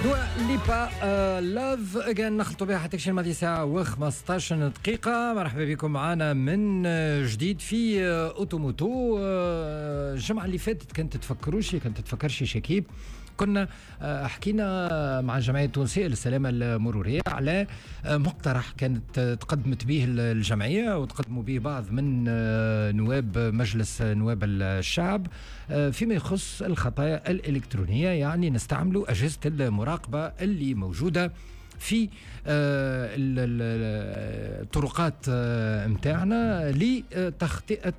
دوا ليبا Love Again، نخلطوا بها حتى شي الماضي ساعة و15 دقيقة. مرحبا بكم معنا من جديد في auto moto. الجمعة اللي فاتت كنت تفكروشي، كنت تفكرشي شكيب، كنا حكينا مع الجمعية التونسية للسلامة المرورية على مقترح كانت تقدمت به الجمعية وتقدموا به بعض من نواب مجلس نواب الشعب فيما يخص الخطايا الإلكترونية، يعني نستعملوا أجهزة المراقبة اللي موجودة في الطرقات متاعنا لتخطئة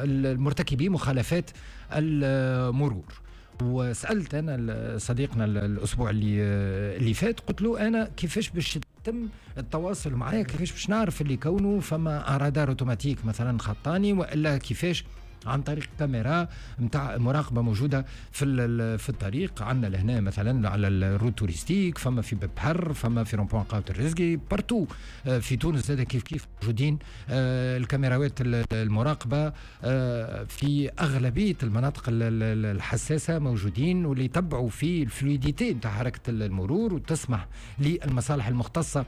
المرتكبي مخالفات المرور. وسالت انا صديقنا الاسبوع اللي فات، قلت له انا كيفاش باش يتم التواصل معايا، كيفاش باش نعرف اللي كونه فما radar automatique مثلا خطاني، والا كيفاش عن طريق كاميرا نتاع مراقبة موجودة في الطريق عندنا لهنا مثلا على ال route touristique، فما في بحر، فما في rond-point قهوة الرزقي، partout في تونس زاد كيف كيف موجودين الكاميراوات المراقبة في اغلبية المناطق الحساسة موجودين، واللي يتبعوا في ال fluidité نتاع حركة المرور وتسمح للمصالح المختصة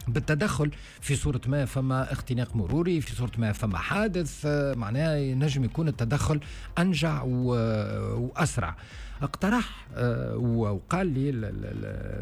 بالتدخل في صورة ما فما اختناق مروري، في صورة ما فما حادث، معناها ينجم يكون التدخل أنجع وأسرع. اقترح وقال لي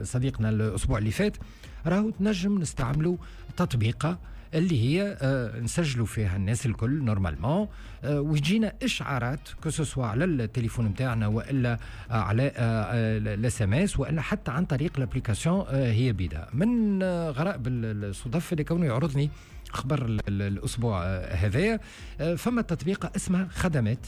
صديقنا الأسبوع اللي فات راهو تنجم نستعملوا تطبيقة اللي هي نسجلوا فيها الناس الكل normalement، ويجينا اشعارات que ce soit على التليفون نتاعنا والا على ال SMS والا حتى عن طريق l'application هي بيدها. من غرائب الصدف اللي كونه يعرضني خبر الاسبوع هذايا، فما تطبيقه اسمها خدمات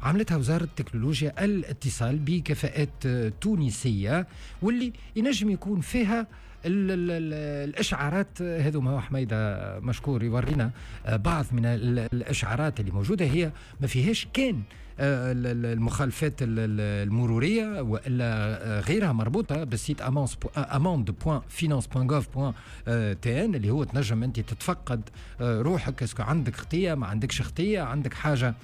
عملتها وزارة تكنولوجيا الاتصال بكفاءات تونسية، واللي ينجم يكون فيها الاشعارات هذوما. هو حميده مشكور يورينا بعض من الاشعارات اللي موجوده، هي ما فيهاش كان المخالفات المرورية والا غيرها مربوطة بال site amendes.finance.gov.tn اللي هو تنجم انت تتفقد روحك est-ce que عندك خطيه، ما عندكش خطيه، عندك حاجة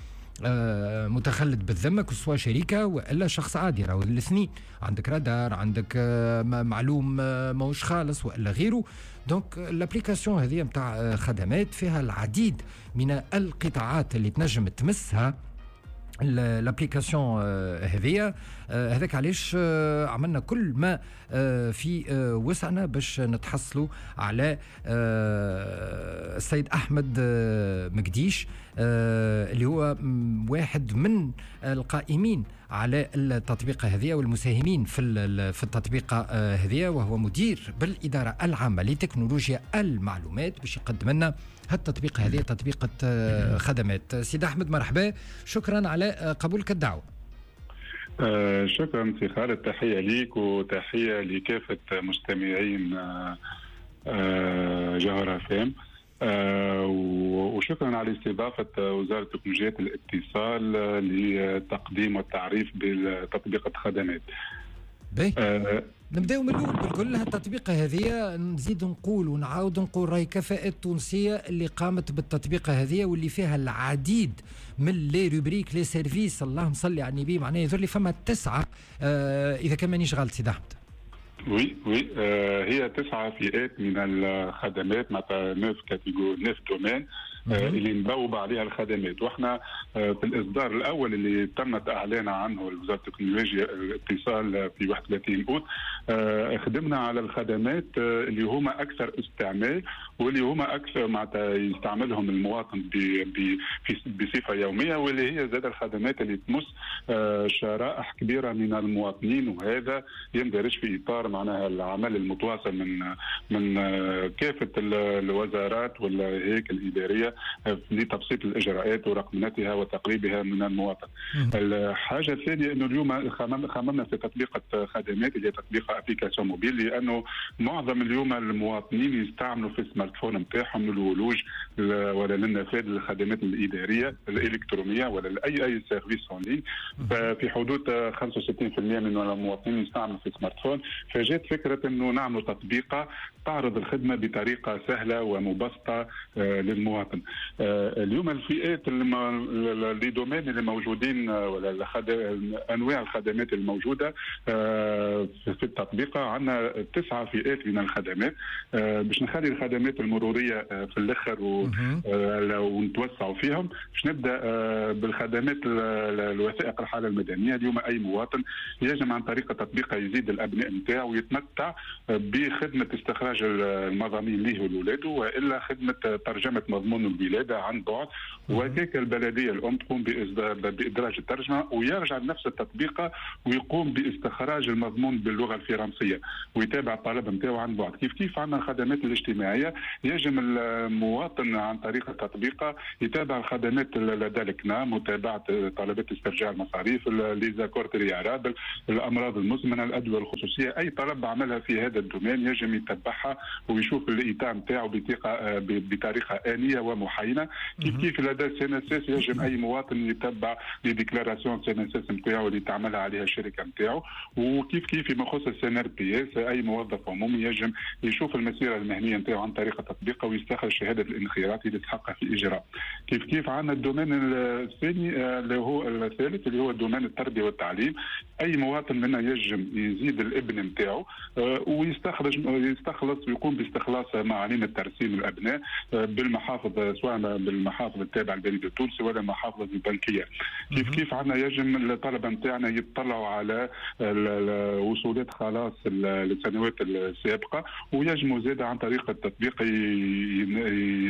متخلد بالذمه، que ce soit شركة والا شخص عادي، راهو الاثنين، عندك رادار، عندك معلوم ماهوش خالص والا غيره. donc l'application هذه نتاع خدمات فيها العديد من القطاعات اللي تنجم تمسها l'application هذيا. هذاك علاش عملنا كل ما في وسعنا باش نتحصلوا على السيد احمد مقديش اللي هو واحد من القائمين على التطبيقة هذه والمساهمين في التطبيقة هذه، وهو مدير بالإدارة العامة لتكنولوجيا المعلومات، باش يقدم لنا هالتطبيق هذه، تطبيقة خدمات. سيد أحمد مرحبا، شكرا على قبولك الدعوة. شكرا سي خالد، تحية ليك وتحية لكافة مستمعين جوهرة فام، وشكرا على استضافة وزارة تكنولوجيات الاتصال لتقديم والتعريف بتطبيق خدمات. نبداو من الاول بالكل. التطبيقه هذه نزيد نقول ونعاود نقول راهي كفاءات تونسية اللي قامت بالتطبيقه هذه، واللي فيها العديد من les rubriques، les services، اللهم صل على النبي، معناها يظهر لي فما 9 اذا كان مانيش غلط سيد احمد. oui، هي 9 فئات من الخدمات، معناتها 9 catégories، 9 domaines اللي نبوب عليها الخدمات. واحنا في الاصدار الاول اللي تمت اعلان عنه وزارة التكنولوجيا الاتصال في 31 اوت، خدمنا على الخدمات اللي هما اكثر استعمال واللي هما اكثر معناتها يستعملهم المواطن بصفة يوميه، واللي هي زاد الخدمات اللي تمس شرائح كبيرة من المواطنين، وهذا يندرج في اطار معناها العمل المتواصل من كافة الوزارات والهياكل الادارية لتبسيط الاجراءات ورقمنتها وتقريبها من المواطن. الحاجة الثانية انه اليوم خممنا في تطبيق خدمات اللي هي تطبيق application mobile، لانه معظم اليوم المواطنين يستعملوا في ال smartphone نتاعهم للولوج ولا للنفاذ للخدمات الادارية الالكترونية ولا لاي service en ligne. ففي حدود 65% من المواطنين يستعملوا في ال smartphone، فجات فكرة انه نعملوا تطبيقه تعرض الخدمة بطريقة سهلة ومبسطه للمواطن. المواطن. اليوم الفئات les domaines اللي موجودين ولا انواع الخدمات الموجودة في التطبيق، عندنا 9 فئات من الخدمات. باش نخلي الخدمات المرورية في الاخر ونتوسعوا فيهم، باش نبدا بالخدمات الوثائق الحالة المدنيه. اليوم اي مواطن يجب عن طريق التطبيق يزيد الابناء نتاعو ويتمتع بخدمة استخراج المضامين ليه ولولاده، والا خدمة ترجمه مضمون الولادة عن بعد، وهكاك البلدية الام تقوم بادراج الترجمة ويرجع لنفس التطبيقه ويقوم باستخراج المضمون باللغة الفرنسية ويتابع الطلب نتاعو عن بعد. كيف كيف عندنا الخدمات الاجتماعية، يجب المواطن عن طريق التطبيقه يتابع الخدمات لدى الكنا، متابعه طلبات استرجاع المصاريف، les accords préalables، الامراض المزمنة، الادوية الخصوصية، اي طلب عملها في هذا ال domaine يجب يتبعها ويشوف l'état نتاعو بطريقة انية ومحينه. كيف كيف لدى CNSS يجب اي مواطن يتبع les déclarations CNSS نتاعو اللي تعملها عليها الشركة نتاعو. وكيف كيف فيما يخص ال CNRPS، اي موظف عمومي يجب يشوف المسيرة المهنية نتاعو عن طريق التطبيق ويستخرج شهادة الانخراط اللي تحقق في الاجراء. كيف كيف عندنا ال domaine الثاني اللي هو الثالث اللي هو domaine التربية والتعليم، اي مواطن منا يجم يزيد الابن نتاعو ويستخرج يستخلص ويقوم باستخلاص معاليم الترسيم الابناء بالمحافظ، سواء بالمحافظ التابعة للبريد التونسي ولا المحافظ البنكية. كيف كيف عندنا يجم الطلبة نتاعنا يطلعوا على وصولات خلاص السنوات السابقة، ويجموا زاد عن طريق التطبيق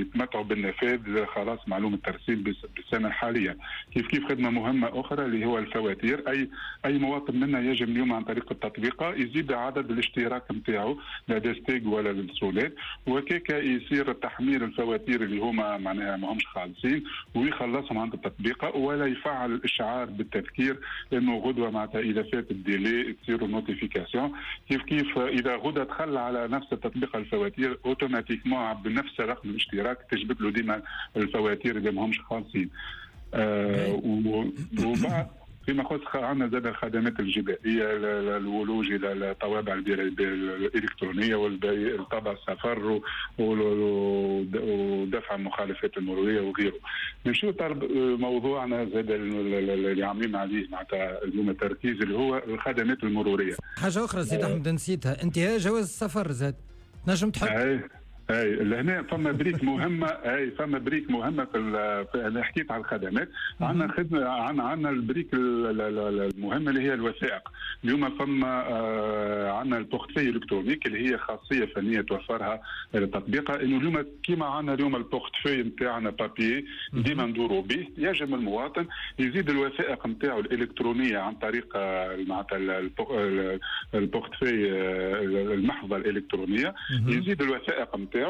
يتمتعوا بالنفاذ خلاص معلومة الترسيم بالسنة الحالية. كيف كيف خدمة مهمة اخرى اللي هو الفواتير، اي مواطن منا يجب اليوم عن طريق التطبيق يزيد عدد الاشتراك نتاعو لدى STEG ولا للسولات، وكيك يصير تحميل الفواتير اللي هما معناها ما همش خالصين ويخلصهم عند التطبيق، ولا يفعل الاشعار بالتذكير انه غدوه معناتها اذا فات ال délai تصير notification. كيف كيف اذا غدا دخل على نفس التطبيق الفواتير automatiquement بنفس رقم الاشتراك تجبد له ديما الفواتير اللي ما همش خالصين. وبعد فيما يخص عندنا زاد الخدمات الجبائيه، الولوج الى الطوابع الالكترونية والطابع السفر ودفع المخالفات المرورية وغيره. نمشيو موضوعنا زاد اللي عاملين عليه معناتها اليوم التركيز اللي هو الخدمات المرورية. حاجة اخرى سيد احمد نسيتها، انتهاء جواز السفر زاد نجم تحط. اي لهنا فما brique مهمة، اي فما brique مهمة في انا حكيت على الخدمات، عندنا خدمة، عندنا ال brique المهمة اللي هي الوثائق. اليوم فما عندنا ال portefeuille électronique اللي هي خاصية فنية توفرها التطبيق، انه اليوم كيما عندنا اليوم ال portefeuille نتاعنا papier ديما ندوروا به، يجب المواطن يزيد الوثائق نتاعو الالكترونية عن طريق معناتها ال portefeuille المحفظة الالكترونية، يزيد الوثائق نتاعو.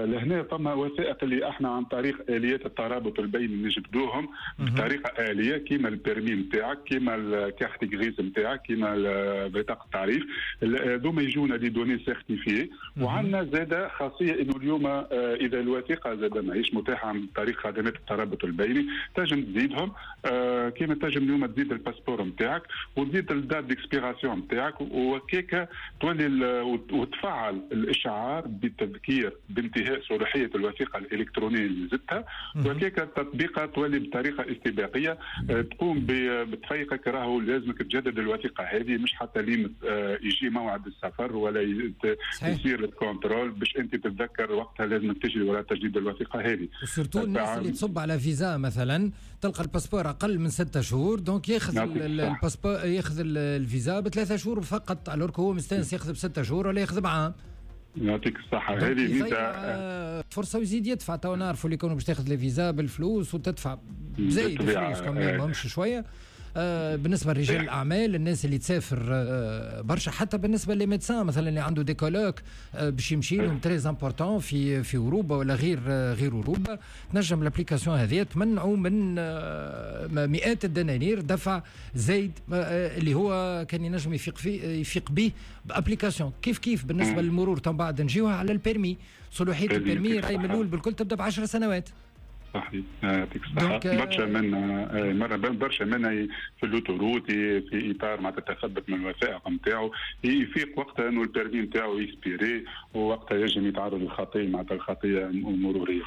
لهنا فما وثائق اللي احنا عن طريق اليات الترابط البيني نجبدوهم بطريقة اليه، كيما ال permis نتاعك، كيما ال carte grise نتاعك، كيما بطاقة التعريف، هذوما يجونا des données certifiées. وعندنا زاده خاصية انه اليوم اذا الوثيقة زاده ماهيش متاحة عن طريق خدمات الترابط البيني تنجم تزيدهم، كيما تنجم اليوم تزيد ال passeport نتاعك وتزيد ال date d'expiration نتاعك، وكيكا تولي وتفعل الاشعار بالتذكير بانتهاء صلاحية الوثيقة الالكترونية اللي زدتها، وكيك التطبيقه تولي بطريقة استباقية تقوم بتفيقك راهو لازمك تجدد الوثيقة هذه، مش حتى لين يجي موعد السفر ولا يصير ال contrôle باش انت تتذكر وقتها لازمك تجري وراء تجديد الوثيقة هذه. surtout الناس اللي تصب على فيزا مثلا تلقى ال passeport اقل من 6 شهور، donc ياخذ ال passeport ياخذ الفيزا ب3 شهور فقط، alors هو مستانس ياخذ ب6 شهور ولا ياخذ بعام. يعطيك الصحة، هذه ميزة فرصة ويزيد يدفع. تو نعرفوا اللي كانوا باش تاخذ les visas بالفلوس وتدفع بزايد فلوس كمان ماهمش شوية. بالنسبة لرجال الاعمال، الناس اللي تسافر برشا، حتى بالنسبة les médecins مثلا اللي عنده des colloques باش يمشي لهم très importants في اوروبا ولا غير اوروبا، تنجم l'application هذه تمنعوا من مئات الدنانير دفع زايد اللي هو كان ينجم يفيق به ب application. كيف كيف بالنسبة للمرور، تو بعد نجيوها على ال permis، صلاحية ال permis راهي من الاول بالكل تبدا ب10 سنوات. صحيح، يعطيك الصحة. برشا منا مرة برشا منا في l'autoroute في اطار مع التثبت من الوثائق نتاعو يفيق وقتها انه ال permis نتاعو expiré، ووقتها يجم يتعرض للخطية معناتها الخطية المرورية.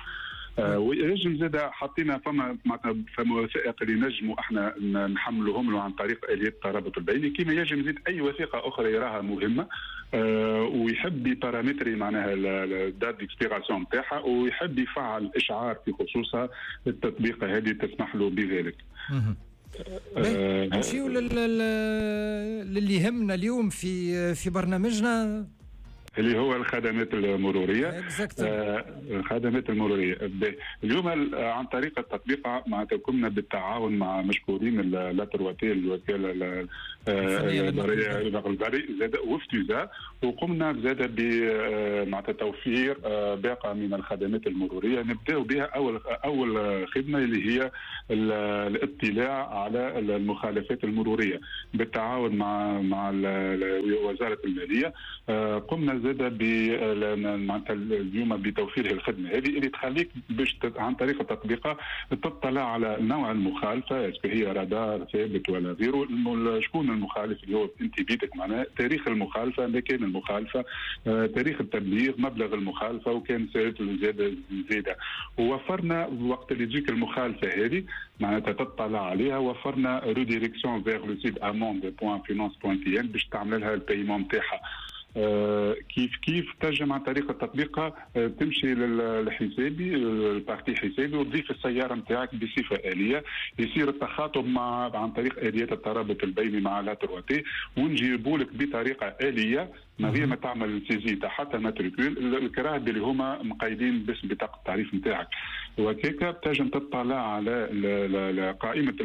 وينجم زاد حطينا فما معناتها فما وثائق اللي نجموا احنا نحملوهم له عن طريق اليات الترابط البيني، كما ينجم يزيد اي وثيقة اخرى يراها مهمة ويحب ي paramétrer معناها ال date d'expiration نتاعها ويحب يفعل اشعار في خصوصها، التطبيقه هذه تسمح له بذلك. نمشيو للي يهمنا اليوم في برنامجنا اللي هو الخدمات المروريه. الخدمات المرورية اليوم عن طريق التطبيق معناتها قمنا بالتعاون مع مشكورين la 3T، الوكالة البرية البري زاد وفتوزا، وقمنا زاد معناتها توفير باقه من الخدمات المرورية نبداو بها اول خدمة اللي هي الاطلاع على المخالفات المرورية بالتعاون مع وزارة الماليه. قمنا زاد معناتها اليوم بتوفير الخدمة هذه اللي تخليك باش عن طريق التطبيق تطلع على نوع المخالفه، est-ce que هي رادار ثابت ولا غيره، شكون المخالف اللي هو انت بيدك، معناها تاريخ المخالفه، مكان المخالفه، تاريخ التبليغ، مبلغ المخالفه، وكان صارت زياده. ووفرنا وقت اللي تجيك المخالفة هذه معناتها تطلع عليها، وفرنا redirection vers le site amende.finance.tn باش تعمل لها ال paiement نتاعها. كيف كيف تنجم عن طريق التطبيق تمشي للحسابي، ال partie حسابي، وتضيف السيارة نتاعك بصفة اليه، يصير التخاطب مع عن طريق اليات الترابط البيني مع la 3T، ونجيبوا لك بطريقة اليه من غير ما تعمل saisie تاع حتى matricule الكراهب اللي هما مقيدين باسم بطاقة التعريف نتاعك. وكيكا تنجم تطلع على قائمة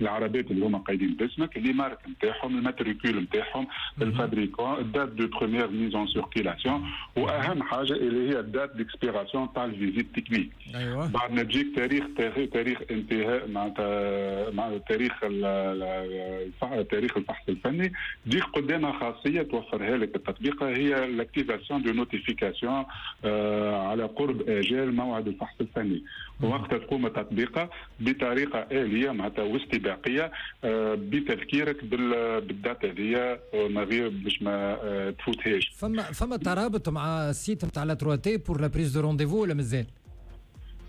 العربات اللي هما قايدين باسمك، les marques نتاعهم، ال matricule نتاعهم، ال fabricant، ال date de première mise en circulation، واهم حاجة اللي هي ال date d'expiration تاع ال visite technique. بعد ما تجيك تاريخ انتهاء معناتها مع تاريخ الفحص الفني، تجيك قدامها خاصية توفرها لك التطبيق هي l'activation de notification على قرب اجال موعد الفحص الفني. وقتها تقوم التطبيقه بطريقة اليه معناتها واستباقيه بتذكيرك بال date هذيا ما غير باش ما تفوتهاش. فما ترابط مع ال site نتاع la 3T pour la prise de rendez-vous ولا مازال؟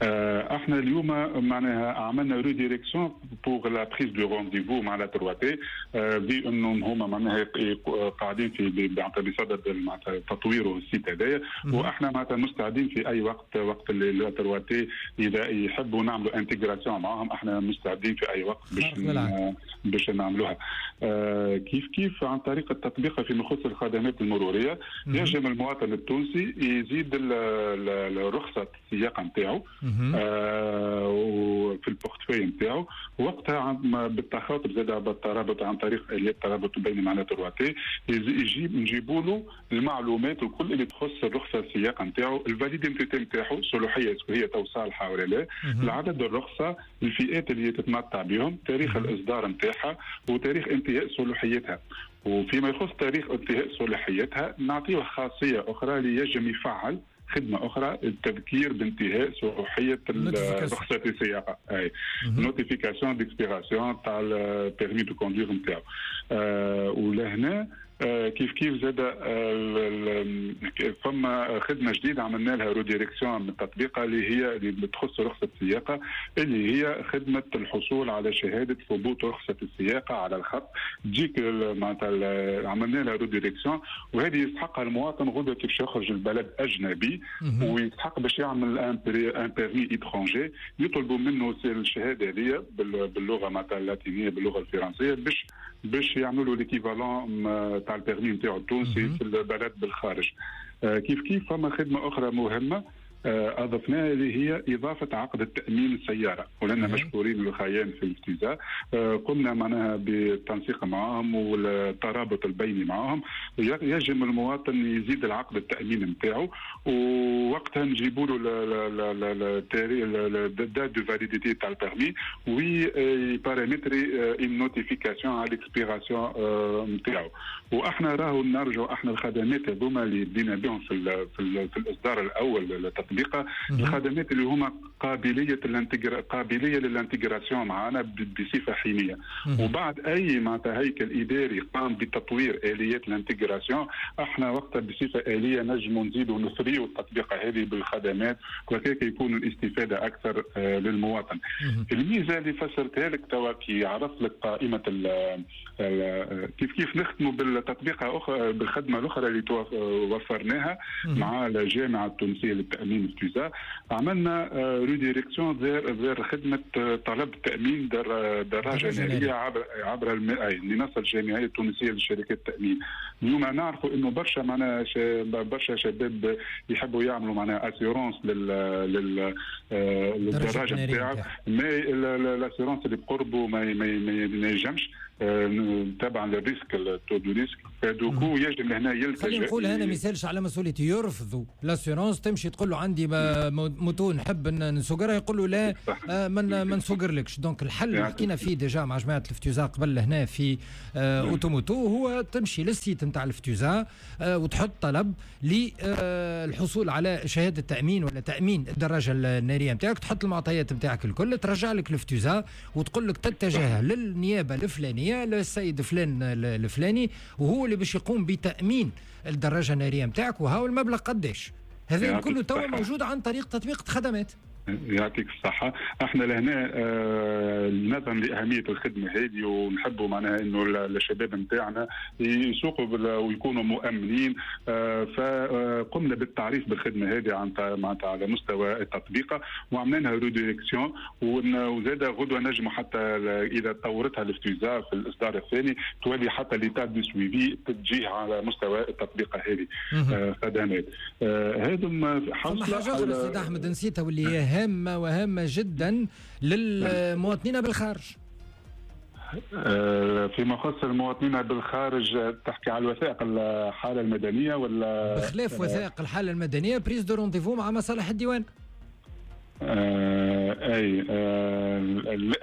احنا اليوم معناها عملنا redirection pour la prise de rendez-vous مع la 3T، vu انهم هما معناها قاعدين في بصدد معناتها تطوير ال site هذايا، واحنا معناتها مستعدين في اي وقت، وقت اللي la 3T اذا يحبوا نعملوا intégration معاهم احنا مستعدين في اي وقت باش نعملوها. كيف كيف عن طريق التطبيق فيما يخص الخدمات المرورية ينجم المواطن التونسي يزيد رخصه السياقه نتاعو وفي ال portefeuille نتاعو، وقتها بالتخاطب زاد بالترابط عن طريق اليات الترابط بين مع la 3T يجيب نجيبوا له المعلومات الكل اللي تخص الرخصة السياقه نتاعو، ال validité نتاعو، صلاحية هي تو صالحه ولا لا، العدد الرخصه، الفئات اللي تتمتع بهم، تاريخ الاصدار نتاعها وتاريخ انتهاء صلاحيتها. وفيما يخص تاريخ انتهاء صلاحيتها نعطيه خاصية اخرى اللي ينجم يفعل خدمة اخرى التذكير بانتهاء صلاحية رخصه السياقه، اي notification d'expiration تاع ال permis de conduire نتاعو. ولهنا كيف كيف زاد فما خدمة جديدة عملنا لها redirection من التطبيق اللي هي اللي بتخص رخصه السياقه، اللي هي خدمة الحصول على شهادة ثبوت رخصه السياقه على الخط. تجيك معناتها عملنا لها redirection، وهذه يستحقها المواطن غدوه كيف يخرج البلد اجنبي ويستحق باش يعمل un permis étranger، يطلبوا منه الشهادة هذه باللغة معناتها اللاتينيه، باللغة الفرنسيه، باش يعملوا l'équivalent تاع ال permis نتاعو التونسي في البلد بالخارج. كيف كيف فما خدمة اخرى مهمة اضفناها اللي هي اضافه عقد التامين السياره، ولنا مشكورين الخيان في الابتزاز، قمنا معناها بالتنسيق معهم والترابط البيني معهم، يجم المواطن يزيد العقد التامين نتاعو، ووقتها نجيبوا له ال date de validité تاع ال permis وي paramétrer une notification على l'expiration نتاعو. واحنا راهو نرجعوا احنا الخدمات هذوما اللي بدينا بهم في الاصدار الاول للتطبيق التطبيقه، الخدمات اللي هما قابلية لل intégration معنا بصفة حينيه. وبعد اي معناتها هيكل اداري قام بتطوير اليات ال intégration، احنا وقتها بصفة اليه نجموا نزيدوا نثريوا التطبيقه هذه بالخدمات، وهكاك يكون الاستفادة اكثر للمواطن. الميزة اللي فسرتها لك توا كي عرفت لك قائمة ال كيف كيف نختموا بالتطبيقه اخرى، بالخدمة الاخرى اللي وفرناها مع الجامعة التونسية للتامين FTUSA. عملنا redirection vers خدمة طلب تامين دراجة نارية عبر المنصة الجامعية التونسية لشركات التامين. اليوم نعرفوا انه برشا معناها برشا شباب يحبوا يعملوا معناها assurance للدراجة نتاعو، mais l'assurance اللي بقربه ما ينجمش تبعا لل risque، ال taux de risque، du coup يجب هنا يلتجئ. خلينا نقول هنا ما يسالش على مسؤوليتي، يرفضوا l'assurance. تمشي تقول له عندي moto نحب نسوقرها، يقول له لا ما نسوقرلكش. donc الحل اللي حكينا فيه déjà مع جماعة ال FTUSA قبل هنا في auto moto هو تمشي لل site نتاع ال FTUSA وتحط طلب للحصول على شهادة تامين ولا تامين الدراجة النارية نتاعك، تحط المعطيات نتاعك الكل، ترجع لك ال FTUSA وتقول لك تتجه للنيابه الفلانية، للسيد فلان الفلاني، وهو اللي باش يقوم بتامين الدراجة النارية نتاعك، وهو المبلغ قداش. هذا كله توا موجود عن طريق تطبيق خدمات. يعطيك الصحة. احنا لهنا نظرا لأهمية الخدمة هذه ونحبوا معناها انه الشباب نتاعنا يسوقوا ويكونوا مؤمنين، فقمنا بالتعريف بالخدمة هذه عن معناتها على مستوى التطبيق وعملنا لها redirection. وزاد غدوة نجموا حتى إذا طورتها ال FTUSA في الإصدار الثاني تولي حتى l'état de suivi تجيه على مستوى التطبيق هذه خدمات هذم. حاجة أخرى سيد أحمد نسيتها واللي هي هامة وهامة جدا للمواطنين بالخارج. فيما يخص المواطنين بالخارج، تحكي على الوثائق الحالة المدنية ولا؟ بخلاف وثائق الحالة المدنية، prise de rendez-vous مع مصالح الديوان. اي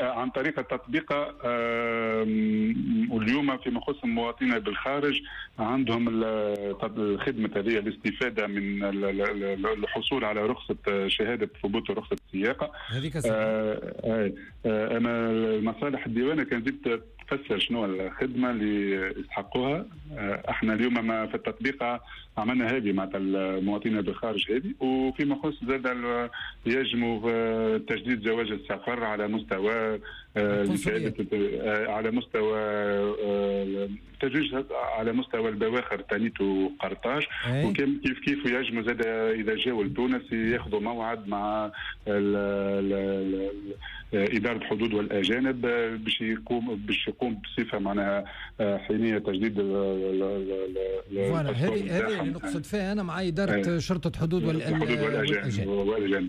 عن طريق التطبيق. واليوم فيما يخص المواطنين بالخارج عندهم الخدمة هذه، الاستفادة من الحصول على رخصه، شهادة ثبوت رخصه السياقه. هذيك انا المصالح الديوانه كان زدت تفسر شنو الخدمة اللي يستحقوها. احنا اليوم ما في التطبيق عملنا هذه مع المواطنين بالخارج هذه. وفيما يخص زاد يجموا تجديد جواز السفر على مستوى على مستوى تجديد على مستوى البواخر تانيت وقرطاج. وكم كيف كيف يجموا زاد اذا جاوا لتونس ياخذوا موعد مع ال ادارة الحدود والاجانب باش يقوم بصفة معناها حينيه تجديد. voilà، هذه اللي نقصد فيها انا مع ادارة شرطه حدود والاجانب.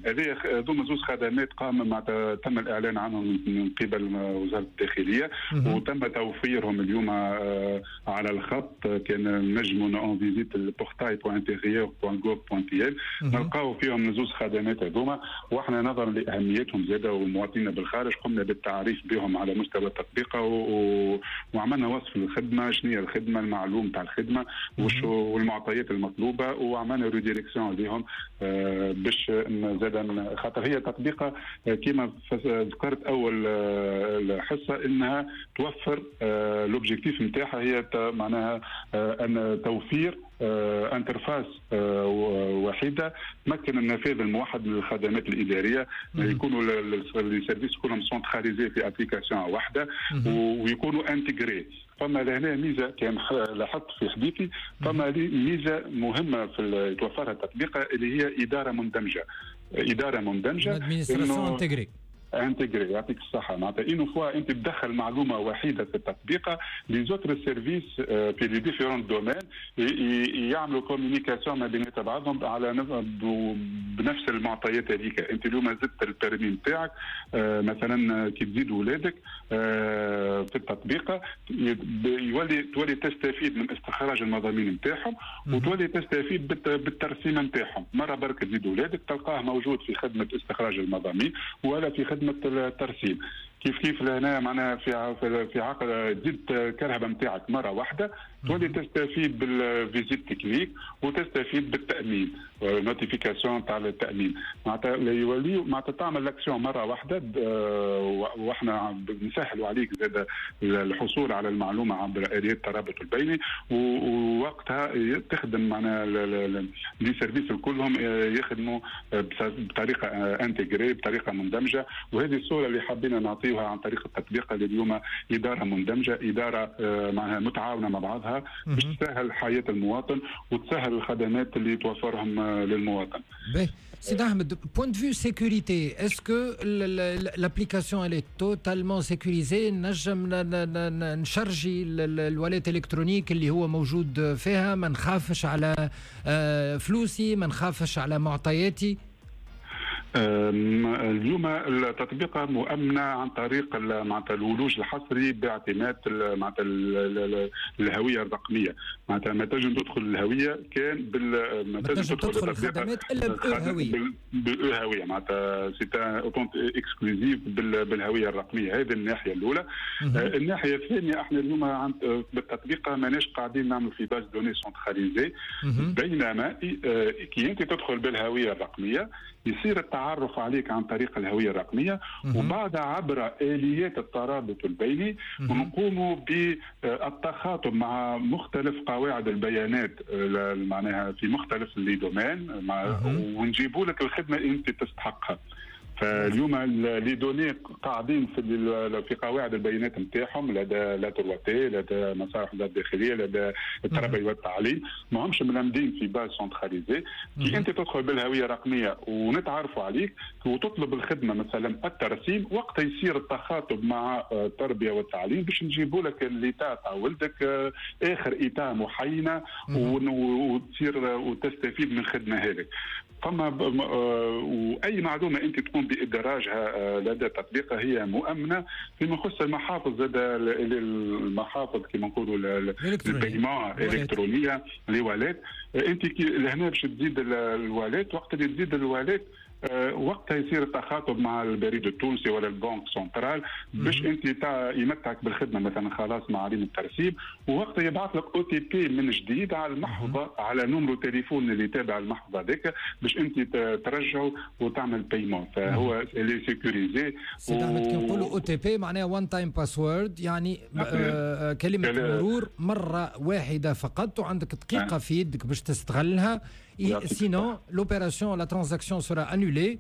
هذه هذوما زوج خدمات قام مع تم الاعلان عنهم من قبل وزارة الداخلية وتم توفيرهم اليوم على الخط. كان نجموا on visite ال portail.intérieur.gov.tn نلقاو فيهم زوج خدمات هذوما. واحنا نظرا لاهميتهم زاده والمواطنين بالخارج قمنا بالتعريف بهم على مستوى التطبيق وعملنا وصف الخدمه، شنو هي الخدمه، المعلوم تاع الخدمة والمعطيات المطلوبه، وعملنا redirection لهم باش زاد خاطر هي تطبيقه كما ذكرت اول الحصة انها توفر l'objectif نتاعها هي معناها ان توفير interface وحيده تمكن النفاذ الموحد للخدمات الاداريه، يكونوا les services كلهم centralisés في application واحدة ويكونوا intégrés. فما لهنا ميزة كان لاحظت في حديثي، فما ميزة مهمة في توفرها التطبيق اللي هي ادارة مندمجه، ادارة مندمجه. administration intégrée. intégrée، يعطيك الصحه. معناتها une fois انت تدخل معلومة وحيده في التطبيق، les autres services في les différents domaines يعملوا communication ما بين بعضهم على بنفس المعطيات هذيك. انت اليوم زدت ال permis نتاعك مثلا، كي تزيد ولادك في التطبيق يولي تولي تستفيد من استخراج المضامين نتاعهم وتولي تستفيد بالترسيم نتاعهم. مرة برك تزيد ولادك تلقاه موجود في خدمة استخراج المضامين ولا في خدمة الترسيم. كيف كيف لهنا معناها في عقد تزيد الكرهبه نتاعك مرة واحدة، تولي تستفيد بال visite technique وتستفيد بالتامين، notification تاع التامين. معناتها يولي معناتها تعمل l'action مرة واحده، واحنا نسهلوا عليك زاد الحصول على المعلومة عبر اليات الترابط البيني، ووقتها تخدم معناها les services كلهم يخدموا بطريقة intégrée، بطريقة مندمجه. وهذه الصورة اللي حبينا نعطيوها عن طريق التطبيق اللي اليوم ادارة مندمجه، ادارة معناها متعاونة مع بعضها باش تسهل حياة المواطن وتسهل الخدمات اللي توفرهم للمواطن. باهي سيد احمد، point de vue sécurité، est-ce que l'application elle est totalement sécurisée؟ نجم نشرجي ال wallet électronique اللي هو موجود فيها، ما نخافش على فلوسي، ما نخافش على معطياتي؟ اليوم التطبيقة مؤمنة عن طريق معناتها الولوج الحصري باعتماد معناتها الهوية الرقمية. معناتها ما تنجم تدخل الهوية كان بال ما تنجم تدخل الخدمات الا بالهوية. بالهوية، معناتها c'est un exclusif بالهوية الرقمية. هذه الناحية الأولى. الناحية الثانية، احنا اليوم بالتطبيقة ماناش قاعدين نعمل في base de données centralisée، بينما كي انت تدخل بالهوية الرقمية يصير التعرف عليك عن طريق الهوية الرقمية، وبعدها عبر آليات الترابط البيني ونقوم بالتخاطب مع مختلف قواعد البيانات معناها في مختلف les domaines، ونجيبوا لك الخدمة اللي انت تستحقها. فاليوم les données قاعدين في قواعد البيانات نتاعهم لدى la 3T، لدى مصالح الداخليه، لدى التربية والتعليم، ما همش ملمدين في base centralisée. كي انت تدخل بالهوية الرقمية ونتعرفوا عليك وتطلب الخدمه، مثلا الترسيم، وقتها يصير التخاطب مع التربية والتعليم باش نجيبوا لك l'état تاع ولدك، اخر état محينه، وتصير وتستفيد من الخدمة هذيك. فما واي معلومة انت تقوم بادراجها لدى التطبيق هي مؤمنه. فيما يخص المحافظ زاد، المحافظ كما نقولوا ال paiement الالكترونيه، les wallets، انت كي لهنا باش تزيد ال wallet، وقت اللي تزيد ال wallet وقتها يصير التخاطب مع البريد التونسي ولا ال banque centrale باش انت يمتعك بالخدمه، مثلا خلاص معاليم الترسيم، ووقتها يبعث لك OTP من جديد على المحفظه، على numéro téléphone اللي تابع المحفظة هذاك، باش انت ترجعه وتعمل paiement. فهو اللي sécurisé. سيد احمد، كي نقولوا OTP معناها one time password، يعني كلمة مرور مرة واحدة فقط، وعندك دقيقة في يدك باش تستغلها، sinon l'opération، la transaction sera annulée.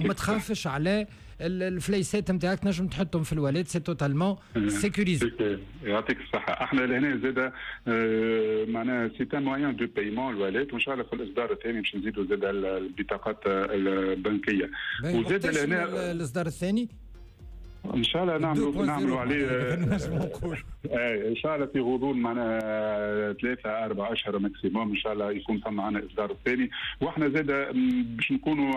ما تخافش على الفليسات نتاعك، تنجم تحطهم في ال wallet، c'est totalement sécurisé. يعطيك الصحة. احنا لهنا زاد معناها c'est un moyen de paiement ال wallet، وان شاء الله في الاصدار الثاني باش نزيدوا زاد البطاقات البنكية. وزاد لهنا الاصدار الثاني؟ ان شاء الله نعملوا عليه ان شاء الله في غضون معناها 3-4 اشهر maximum، ان شاء الله يكون ثم معنا الاصدار الثاني. واحنا زاد باش نكونوا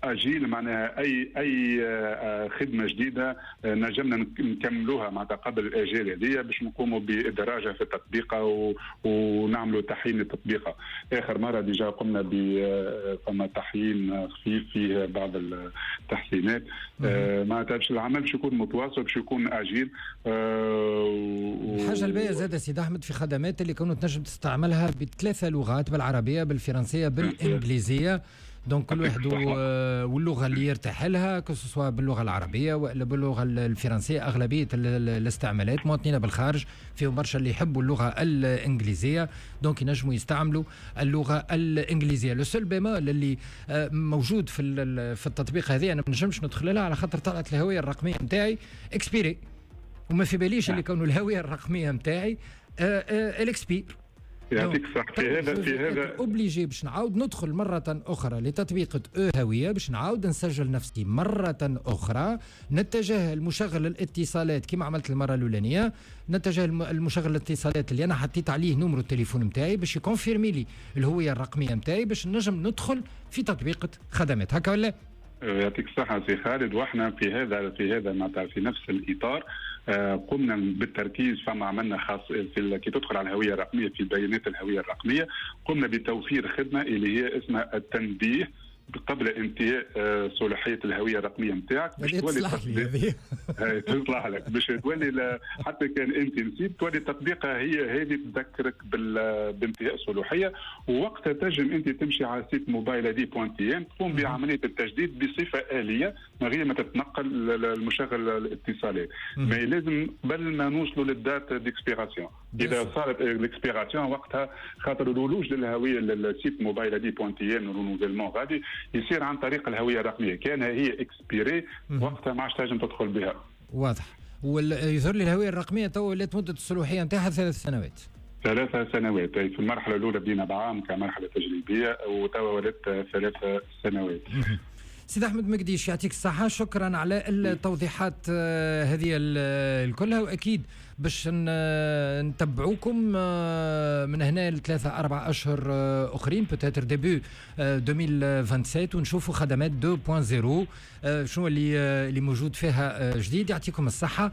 agiles، معناها اي خدمة جديدة نجمنا نكملوها معناتها قبل الاجال هذه باش نقوموا بادراجها في التطبيقه ونعملوا تحيين التطبيقه. اخر مرة déjà قمنا ب فما تحيين خفيف فيه بعض التحسينات. معناتها باش العمل باش يكون متواصل، باش يكون agile. الحاجة الباهيه زاد سيد احمد في خدمات اللي كانوا تنجم تستعملها بثلاثة لغات، بالعربيه، بالفرنسيه، بالانجليزيه، donc كل واحد واللغة اللي يرتاح لها، que ce soit باللغة العربية والا باللغة الفرنسيه. اغلبية الاستعمالات مواطنين بالخارج فيهم برشا اللي يحبوا اللغة الانجليزيه، donc ينجموا يستعملوا اللغة الانجليزيه. le seul bémol اللي موجود في التطبيق هذه، انا ما نجمش ندخل لها على خاطر طلعت الهوية الرقمية نتاعي expirée، وما في باليش اللي كونوا الهوية الرقمية نتاعي elle expire. يعطيك الصحة في هذا. obligé باش نعاود ندخل مرة أخرى لتطبيق هوية، باش نعاود نسجل نفسي مرة أخرى، نتجه المشغل الاتصالات كما عملت المرة الأولانية، نتجه المشغل الاتصالات اللي أنا حطيت عليه numéro التليفون نتاعي باش ي confirmer لي الهوية الرقمية نتاعي باش نجم ندخل في تطبيقة خدمات. هكا ولا؟ يعطيك الصحة سي خالد. واحنا في هذا معناتها في نفس الإطار قمنا بالتركيز، فما عملنا خاص في كي تدخل على الهوية الرقميه، في بيانات الهوية الرقمية قمنا بتوفير خدمة اللي هي اسمها التنبيه. قبل انتهاء صلاحية الهوية الرقمية نتاعك، باش تولي تصلح لك، باش تولي حتى كان انت نسيت تولي التطبيقه هي هذه تذكرك بانتهاء الصلاحيه، ووقتها تنجم انت تمشي على site mobile ID point tn تقوم بعملية التجديد بصفة اليه من غير ما تتنقل المشغل الاتصالات. ما لازم قبل ما نوصلوا لل date d'expiration. اذا صارت ال expiration وقتها، خاطر الولوج للهوية لل site mobile ID point tn renouvellement غادي يصير عن طريق الهوية الرقميه، كان هي expirée وقتها ما عادش تنجم تدخل بها. واضح. ويظهر لي الهوية الرقمية تو ولات مده الصلاحية نتاعها 3 سنوات. 3 سنوات. في المرحلة الاولى بدينا بعام كمرحلة تجريبيه، وتوا ولات 3 سنوات. سيد احمد مقديش، يعطيك الصحه، شكرا على التوضيحات هذه الكلها، واكيد باش نتبعوكم من هنا ل3 4 اشهر اخرين، peut-être début 2027، ونشوفوا خدمات 2.0 شنو اللي موجود فيها جديد. يعطيكم الصحة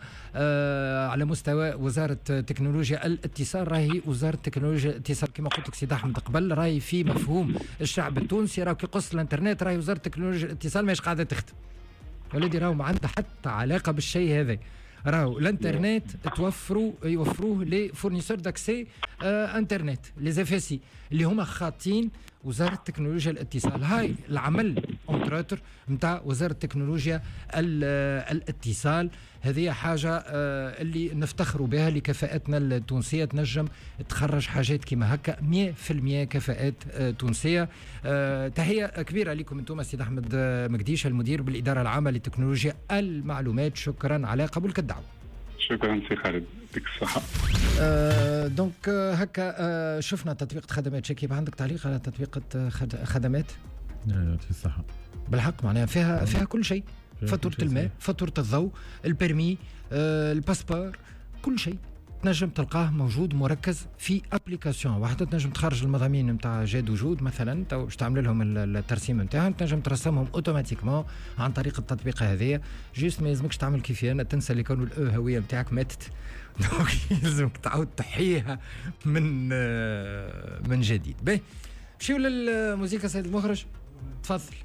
على مستوى وزارة تكنولوجيا الاتصال. راهي وزارة تكنولوجيا الاتصال كما قلت لك سيد احمد قبل، راهي في مفهوم الشعب التونسي راهو كي قص الانترنت راهي وزارة تكنولوجيا الاتصال ماهيش قاعدة تخدم. ولدي راهو ما عندها حتى علاقة بالشيء هذا. راهو الانترنت يوفروه les fournisseurs d'accès internet، les FSI، اللي هما خاطين وزارة تكنولوجيا الاتصال. هاي العمل entre autres نتاع وزارة تكنولوجيا الاتصال. هذه حاجة اللي نفتخروا بها لكفاءتنا التونسيه، تنجم تخرج حاجات كيما هكا 100% كفاءات تونسيه. تحية كبيرة لكم انتم. سيد احمد مقديش، المدير بالادارة العامة لتكنولوجيا المعلومات، شكرا على قبولك الدعوه. شكرا سي خالد، يعطيك الصحة. Donc هكا شفنا تطبيق خدمات. شكيب، عندك تعليق على تطبيق خدمات؟ لا، يعطيك الصحة. بالحق معناها فيها كل شيء، فاتورة الماء، فاتورة الضوء، ال permis، ال passeport، كل شيء تنجم تلقاه موجود مركز في application واحده. تنجم تخرج المضامين نتاع جاد وجود مثلا، تو باش تعمل لهم الترسيم نتاعهم، تنجم ترسمهم automatiquement عن طريق التطبيق هذايا. juste ما يلزمكش تعمل كيفي انا، تنسى اللي كانوا الهوية نتاعك ماتت، donc يلزمك تعاود تحييها من جديد. باهي، مشيو للموسيقى. سيد المخرج، تفضل.